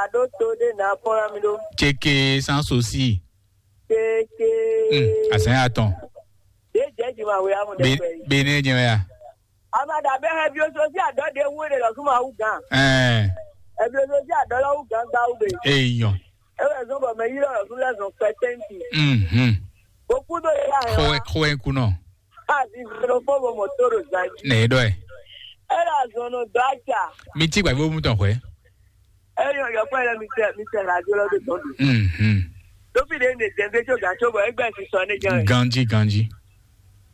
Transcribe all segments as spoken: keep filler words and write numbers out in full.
Aɖó to ɖé nǎ kpɔ́n ná mi ɖó. Céké sans aussi. Céké. Hmm, azɛn atɔn. Ɖé jɛ juma we amu ɖe Be- kpɛ yi. Benin jɛ ya. Ama da bɛ hɛ bio so si adɔ de wu de lɔ suma wu gan. Ɛɛ. Hɛ bio so si adɔ lɔ wu gan gba wu be. Eyɔn. Ewe zɔn bɔ mɛ yi lɔ lɔ su lɛ zɔn kpɛ tɛnti. Mhm. O ku do yi la hɛ Xɔ wa. Xɔ ɛ kunɔ. A di zɔn fɔ bɔ mɔ to do zan ji. Nɛ e dɔ ɛ. E la zɔn nɔ dɔ aca. Mi ti gba bo mu tɔn xwɛ. E yɔ yɔ kpɛ lɛ mi tɛ mi tɛ la jo lɔ do tɔn do. Mhm. Dofi de ne dɛn de tso gan tso bɔ egbɛ si sɔ ne jɛ. Ganji ganji.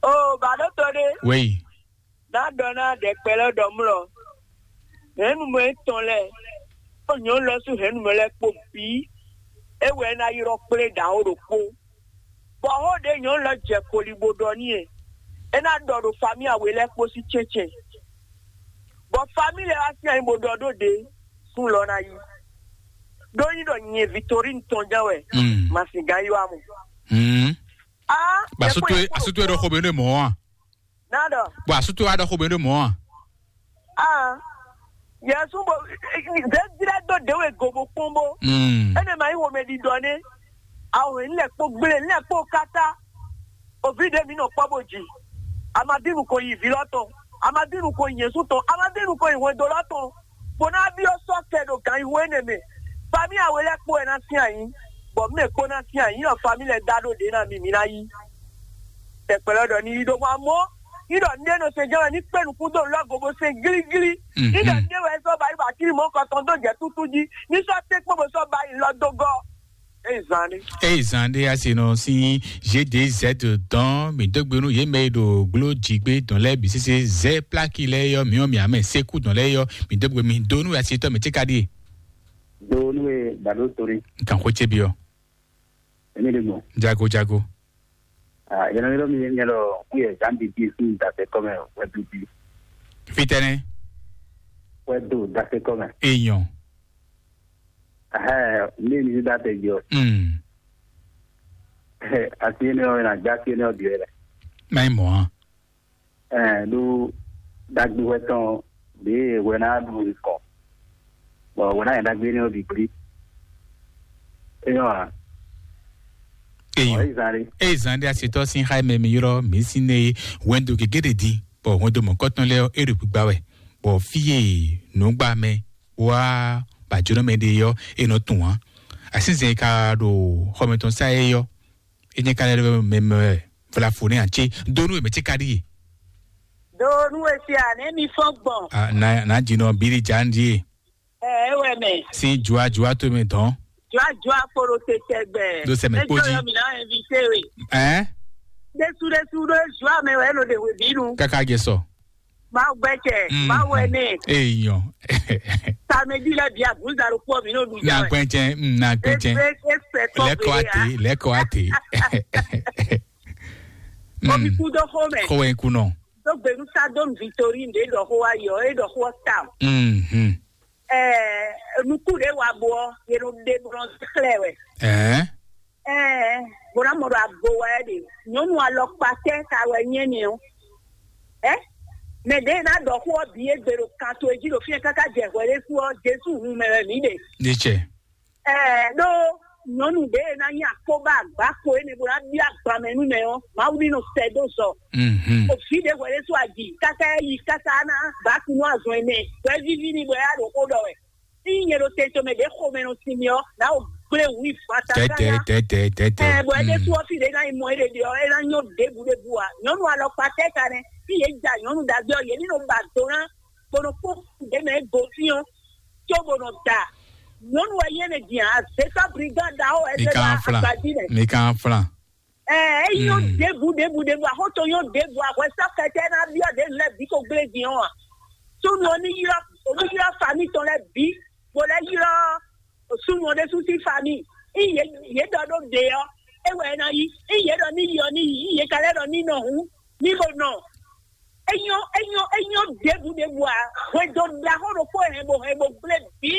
O ba do to de. Wei. Ná ɖɔ ná ɖɛkpɛ lɛ́ɛ ɖɔ mlɔ. Hɛ̌nnumɔ etɔn lɛ́ɛ, kpó nyɔ̌nu lɛ́ɛ sín hɛ̌nnumɔ lɛ́ɛ kpó bǐ, é wɛ é ná ylɔ́ kplé ɖǎ ó ɖokpó. Bɔ xó ɖě nyɔ̌nu lɛ́ɛ jɛ koli bó ɖɔ n'i é, é ná ɖɔ ɖo famíya we lɛ́ɛ kpó sín cɛ́ncɛn. Bɔ famíya lɛ́ɛ wá sín ayi bó ɖɔ ɖó ɖě, sún lɔ ná yí. Ɖó nyí ɖɔ nyɛ Victorine tɔn ján wɛ, Mm. ma sin gán yí wá mu. Mm. Ah, Ba yɛ sutu kpɔ́n, yɛ kpɔ́n, asutue ɖɔ xo be ɖo mɔ̌ a? Ná ɖɔ. Bɔ asutue wa ɖɔ xo be ɖo mɔ̌ a? Ah, Yesu bo zɛzilɛ dó ɖě we go bo kpɔ́n bó. Mm. Ene ma yi wo mɛ ɖiɖɔ ne. Awo hin lɛ kpó gblé, lɛ kpó kata. Ovi ɖe mi nɔ kpɔ bo ji. Amadinu ko yi vi lɔ tɔn. Amadinu ko yi Yesu tɔn. Amadinu ko yi hwendo lɔ tɔn. Bó ná byɔ́ sɔ́ kɛ ɖo gan yi hwé ne mɛ. Famíya we lɛ́ɛ kpó wɛ ná sín ayǐ, bɔ mɛ kpó ná sín ayǐ, nɔ famíya lɛ́ɛ dá ɖó ɖě ná mi mi ná yí. Tɛkpɛlɛ ɖɔ ní yí ɖó hwan mɔ, ní ɖɔ ní ɖe nɔ se jɛ́n wɛ ní kpé nukún dó lɔ́ go bó se glíglí. Ní ɖɔ ní ɖe wɛ sɔ́ ba yi ba tíri mɔ kɔtɔn dó jɛ tútú jí, ní sɔ́ té kpó bó sɔ́ ba yi lɔ dó gɔ́. Eye zan ɖé. Eye zan ɖé asi nɔ sín G D Z dɔn mi dó gbe nú yě mɛ e ɖo gbló jǐgbé dɔn lɛ́ɛ bǐ sésé zɛ pláki lɛ́ɛ yɔ mǐ ɔ́ mǐ amɛ sékú dɔn lɛ́ɛ yɔ mi dó gbe mi dó nú asitɔ mɛ tíka ɖíe. Do nú e ba ɖó to ɖé. Nkan xó cé byɔ. Èmi ɖe mɔ. Jago jago. Ah, yɛn nɔ mi yɛn lɔ kú yɛ Jean Bibi sí dasɛ kɔmɛ wɛ bibi. Fitɛnɛ. Wɛ do dasɛ kɔmɛ. Èèyàn. Ɛhɛ, mi ni dasɛ jɔ. Hmm. Asi ne ɔ na gba asi ne ɔ bi wɛ. Mai mɔ a. Ɛɛ, ɖó ɖagbe hwɛ tɔn ɖě hwɛ ná ɖu nukɔn, bɔ hwɛ ná nyɛ ɖagbe énɛ́ ɔ́ bǐ gblí. Éyɔ́ ǎ. Eyín. Ɔ́, é zán ɖé. Eye zan ɖé asitɔ sín xá mɛ mi ylɔ́ mǐ sín nɛ é hwɛndo gěgé ɖe din, bɔ hwɛndo mɔ̌kɔtɔn lɛ́ɛ ɔ́, é ɖo gbigba wɛ, bɔ fí e nǔgbamɛ wá bǎjínɔmɛ ɖe ɔ́, é nɔ tunwun ǎ. Asínzɛn e ka ɖo xɔmɛ tɔn sá é ɔ́, é nyɛ ka lɛ́ ɖɔ mɛ mɛ wɛ vlafo nɛ́ ǎ cé dó nú è mɛ cé ka ɖíe. Do nú e se a nɛ mi fɔn gbɔn. Ah, na na dzi nɔ bili dza ŋdi e. Ɛ, e wɛ mɛ. Sin jua jua to mɛ dɔn. Jua jua kporo te tɛgbɛ. Do sɛmɛ kpo dzi. Yɔ mi na invité we. Ɛ? Ɖesu ɖesu ɖo jua mɛ wɛ lo de we binu. Kaka jɛ sɔ. Ma gbɛ cɛ, Mm, ma wɛ mm. Ne. Eyɔn. Samedi la bi abuza lo kpɔ mi no du Na ja. Gbɛntsɛ, mm, na gbɛntsɛ. Ese ese kɔ Lɛkɔ bele ate, ya. Lɛkɔ ate. Omi Mm. Ku do xo mɛ. Xɔ wɛ ku nɔ. Do gbenu sa do Victorine de dɔ xo ayɔ, e dɔ xo tam. Mhm. Eh, nuku de wa bo, ye no de bron xlɛ wɛ. Eh? Eh, bona mo do agbo wɛ de. Nyɔnu alɔkpa tɛ ka wɛ nyɛ ni o. Eh? Mɛ de na dɔ xo bi e gbe do kan to eji do fi kaka jɛ hwɛ de fu o, Jesu hun mɛ wɛ mi de. Ni tsɛ. Ɛɛ, ɖó nyɔnu ɖě e ná nyí akpóbá agbáko énɛ́ bó ná byɔ́ agban mɛ nú mɛ ɔ́, Mawu ní nɔ sɛ dó zɔ. Mhm. Òfin ɖě hwɛ ɖé sú aji káká é yi káká ná gbǎkú nú azɔn ɛnɛ, bɔ é víví n'i bɔ é yá ɖo xó ɖɔ wɛ. Ní nyɛ ɖo tento mɛ ɖě xomɛ nɔ sin mi ɔ́, ná o gblé wǔ yi fata Tɛtɛ káká. Tɛtɛ tɛtɛ. Ɛɛ, bɔ é ɖésú Mm. Ɔ́ fí ɖě ná yi mɔ é ɖe ɖe ɔ́, é ná nyɔ́ ɖěbǔ ɖěbǔ ǎ. Nyɔnu alɔkpa tɛ́ ka nɛ́, fí yě ja nyɔnu ɖagbe ɔ́, yě ní nɔ ba do ná, bó nɔ kpó ɖě mɛ é gosín ɔ́, cóbó nɔ da. Nyɔnu wɛ nyí ɛnɛ din ǎ, azětɔ́ brigán ɖaxó wɛ Mi é kan ba flan. Agbají nɛ. Mi kan flan. Ɛɛ, é nyɔ́ Mm. Ɖěbǔ ɖěbǔ ɖěbǔ, axóto nyɔ́ ɖěbǔ, ahwɛsɔ́ kɛtɛ ná byɔ́ ɖě lɛ́ɛ bǐ ko gblé din ɔ́ ǎ. Súnnu ɔ́ ní ylɔ́, ní ylɔ́ famí tɔn lɛ́ɛ bǐ, bó lɛ́ ylɔ́ súnnu ɔ́ ɖésú sín famí. Í yě, yě ɖɔ ɖó ɖě ɔ́, é wɛ é ná yí. Í yě ɖɔ ní yi ɔ́ ní yi, í yě ka lɛ́ ɖɔ ní nɔ hǔn, ní ko nɔ. Enyɔ enyɔ enyɔ ɖěbǔ ɖěbǔ ǎ. Hwɛndo ɖaxó ɖokpó hɛn bo hɛn bo gblé bǐ.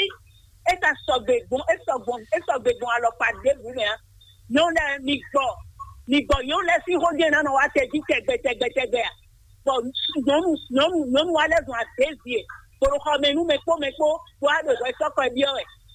É ka sɔgbe gbɔn é sɔgbɔn é sɔgbe gbɔn alɔkpa ɖěbǔ mɛ ǎ. Nyɔnu lɛ́ɛ mi gbɔ, mi gbɔ nyɔnu lɛ́ɛ sín xó jɛ́n ná nɔ wá tɛ jí tɛgbɛ tɛgbɛ tɛgbɛ ǎ. Bɔ nyɔnu nyɔnu nyɔnu wa lɛ́ zɔn adě vie, bó ɖo xɔ mɛ nú mɛ kpó mɛ kpó, bó wá ɖo hwɛ sɔ́kɔ byɔ́ wɛ.